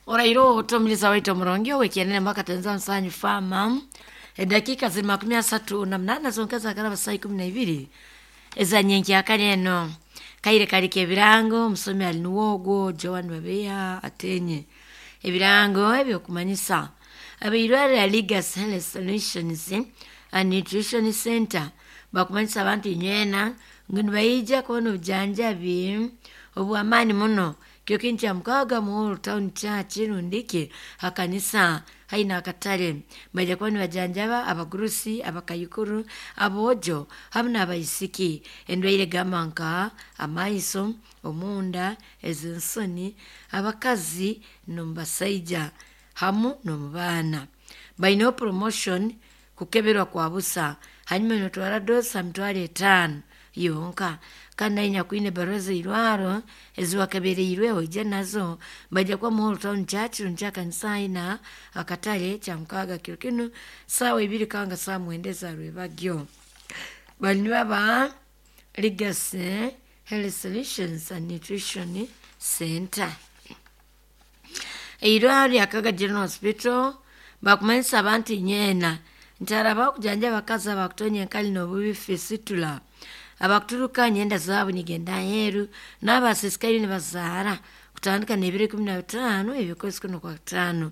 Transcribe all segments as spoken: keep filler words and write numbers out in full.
Orairo otomiliza waito murongi owekianene mpaka tenza nsanyu fama edakika ziri makumi asatu na mnana zonkeza karaba saa ikumi na ibiri ezanyenkyakare eno kaire kali kebirango omusomi ali nuwogwo Joan Babeya atenye ebirango ebyokumanyisa abeirwarira lya Legacy Health Solutions and Nutrition Center bakumanyisa abantu inywena ngu nibaija kubona obujanjabi obw'amaani muno kyo kintu kya mukaaga muhuru town church rundiki hakanisa haina akatare baija kuba nibajanjaba abagurusi, abakayukuru, aboojo hamu n'abaisiki endwaire gamba nka amaiso, omunda, ez'ensoni, abakazi n'omubasaija hamu n'omubaana. Baineho promotion kukeberwa kwa busa hanyuma notwara dosi ha mitwaro etaano yonka kandi nawe nyakwine ebaruha z'eirwaro eziwakebereirwe oije nazo baija kuba muhuru town church rundi akanisa haina akatare kyamukaaga kiro kinu saawa ibiri kanga saawa mwenda ezarwebagyo. Bali nibaba Legacy Health Solutions and Nutrition Center. Eirwaro lya Kaga General Hospital bakumanyisa abantu inywena nti harabaho kujanjaba abakazi abakutonya enkali n'obubi fisitula, abakuturuka nyenda zaabo nigenda aheeru, n'abasisikaire nibazaara kutandika n'ebiro ikumi na bitaano eby'okwezi kuno kwa kutaano.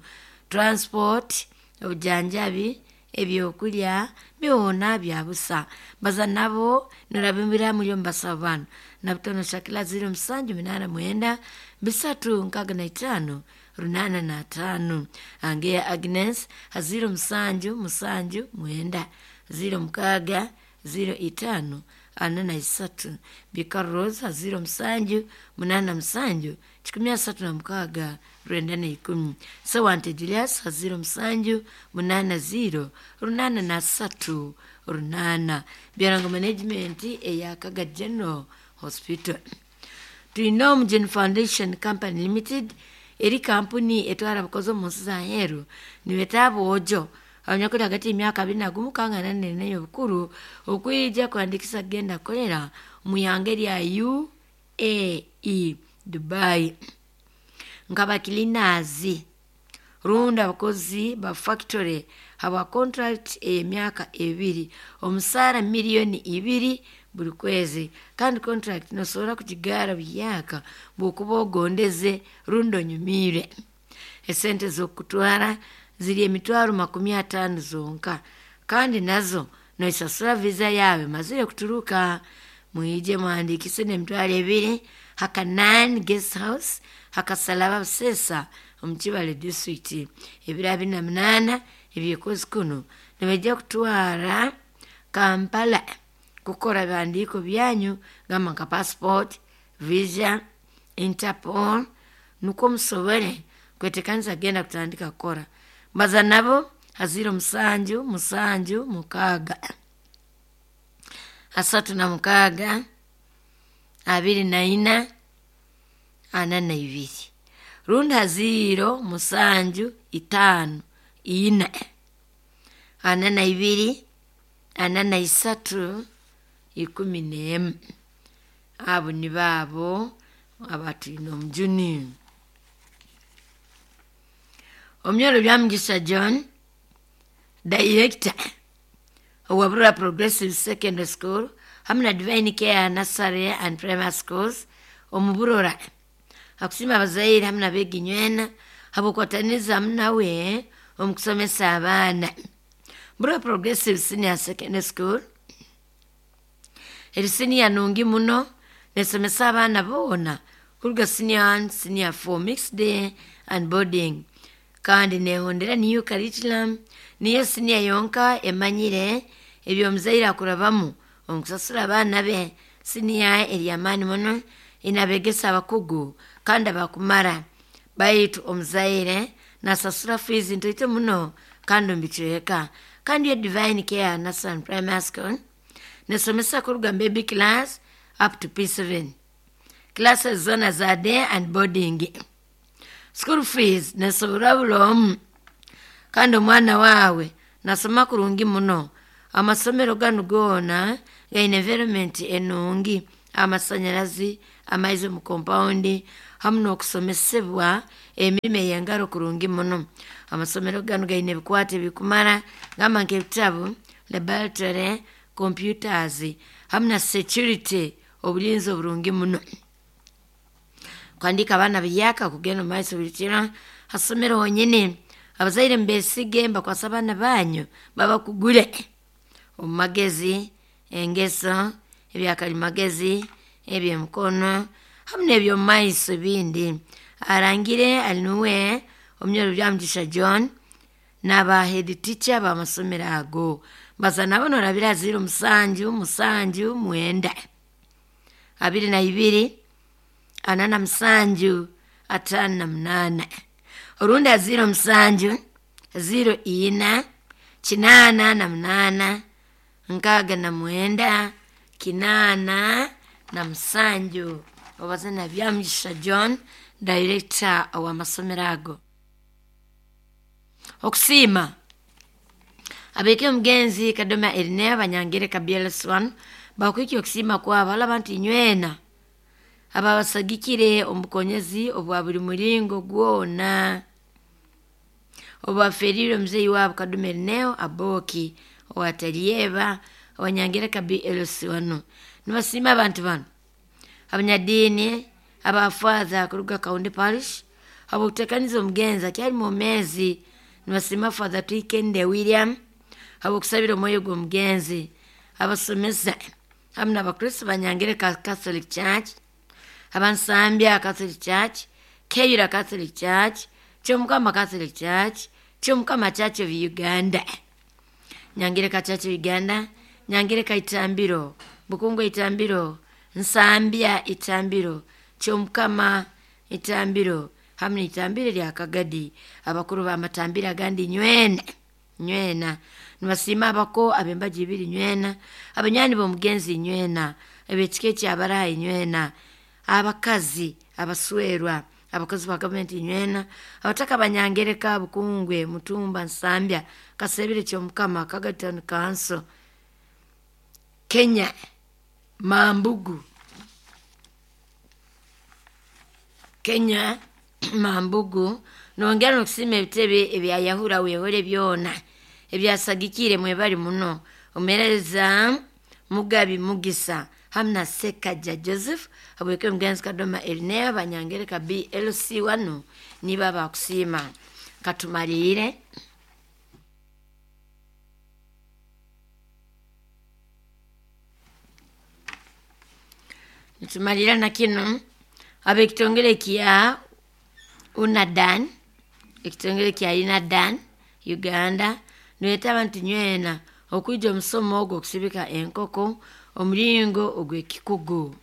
Transport, obujanjabi, ebyokulya byona bya busa. Baza nabo norabimira muri omu basawo banu na bitono Shakila ziro musanju munaana mwenda bisatu nkaaga na itaano runaana na ataano. Angeya Agnes ha ziro musanju musanju mwenda ziro mukaaga ziro itaano ana na isatu. Bika Rose ha ziro musanju munaana musanju kikumi asatu na mukaaga rwenda na ikumi. Sewante Julius ha ziro musanju munaana ziro runaana na asatu runaana. Byarango Management eya Kaga General Hospital. Twine Omujuni Foundation Company Limited eri kampuni etwara abakozi omu nsi z'aheeru nibeeta aboojo abanyakuli hagati y'emyaka abiri na gumu kanga ana n'ena ey'obukuru okwija kuhandikisa kugenda kukorera omu ihanga erya U A E Dubai nk'abakilinazi rundi abakozi ba factory habwa contract ey'emyaka ebiri omusaara miliyoni ibiri buri kwezi kandi contract nosobora kugigaara buhyaka bw'okuba ogondeze rundi onyumiire. Esente z'okukutwara ziri emitwaro makumi ataano zonka kandi nazo noisasura visa yaawe emazire kuturuka. Mwije muhandikise n'emitwaro ebiri Hakanan Guest House Hakasalaba Buseesa omu Kibale district. Ebiro abiri na munaana eby'okwezi kuno nibaija kutwara Kampala kukora ebihandiiko byanyu gamba nka passport, visa, Interpol nukwo musobole kweteekaniza kugenda kutandika kukora. Mbaza nabo ha ziro musanju musanju mukaaga asatu na mukaaga abiri na ina ana na ibiri rundi ha ziro musanju itaano ina ana na ibiri ana na isatu ikumi n'emu. Abo nibo abo abatwine Omujuni. Omuyoro Byamugisha John, director owa Burora Progressive Secondary School hamu na Divine Care Nursery and Primary Schools omu Burora akusiima abazaire hamu n'abeegi inywena habw'okukwataniriza hamu nawe omu kusomesa abaana. Burora Progressive Senior Secondary School eri siniya nungi muno nesomesa abaana boona kuruga senior one, senior four, mixed day and boarding kandi nehondera niyo curriculum niyo siniya yonka emanyire ebyomuzaire akurabamu omu kusasura abaana be. Siniya eri y'amaani muno inabegesa abakugu kandi abakumara baitu omuzaire nasasura fees ntoito muno kandi omu bicweka. Kandi yo Divine Care Nursery and Primary School nesomesa kuruga baby class up to P seven. Classes zona za day and boarding. School fees nesobora buli omu kandi omwana waawe nasoma kurungi muno. Amasomero ganu goona gaine environment enungi Amasanyarazi, amaizi omu kompaundi, hamu n'okusomesebwa emirimo ey'engaro kurungi muno. Amasomero ganu gaine ebikwate ebikumara gamba nk'ebitabu, laboratory, computers hamu na security, obulinzi oburungi muno. Kuhandiika abaana biyaka kugenda omu maiso buli kiro ha ssomero honyini. Abazaire mbeesige mbakwasa abaana banyu babakugure omu magezi, engeso, ebyakalimagezi, eby'emikono hamu n'eby'omu maiso ebindi. Arangire ali nuwe Omunyoro Byamugisha John n'aba head teacher b'amasomero ago. Mbaza nabo norabira ziro musanju musanju mwenda abiri na ibiri ana na musanju atano na munaana, orundi aziro musanju ziro ina kinaana na munaana nkaaga na mwenda kinaana na musanju. Obaze na Byamugisha John, director ow'amasomero ago. Okusiima abeeke omugenzi Kadoma Erinea Banyangere K B L S one bakwikya okusiima kwabo hali abantu inywena ababasagikire omu bukonyezi obwa buli mulingo gwona obaferiire omuzeeyi waabo Kadoma Erineo Aboki owatalyeba Abanyangereka K B L C one. Nibasiima abantu banu abanyadiini, abafather kuruga Kaundi Parish habw'okuteekaniza omugenzi akyali mwomeezi. Nibasiima Father Twikende William habw'okusabira omwoyo gw'omugenzi, abasomesa hamu n'abakristo Banyangereka Catholic Church, Abansambya Catholic Church, Keira Catholic Church, Kyomukama Catholic Church, Kyomukama Church of Uganda, Nyangereka Church of Uganda, Nyangereka Itambiro, Bukungwe Itambiro, Nsambya Itambiro, Kyomukama Itambiro hamu n'itambiro lya Kagadi, abakuru b'amatambiro agandi nywena nywena. Nibasiima abako ab'embaga ibiri nywena, abanywani b'omugenzi nywena, ab'ekika ekyabaraha nywena, abakazi abaswerwa, abakozi ba gavumenti nywena, abataka Banyangereka, Bukungwe, Mutumba, Nsambya, Kasebire, Kyomukama, Kagadi Town Council, Kenya, Mambugu, Kenya, Mambugu. Nongera n'okusiima ebitebe ebya Yahura Wehole byona ebyasagikire mwebali muno, omuheereza Mugabi Mugisa hamu na Sekaja Joseph habweke omugenzi Kadoma Erinea Banyangereka B L C wanu nibo bakusiima. Katumaliire. Nitumalira na kino: ab'ekitongole kya UNADAN, ekitongole kya UNADAN Uganda nibeeta abantu nywena okwija omusomo ogw'okusibika enkoko omulingo ogw'ekikugu.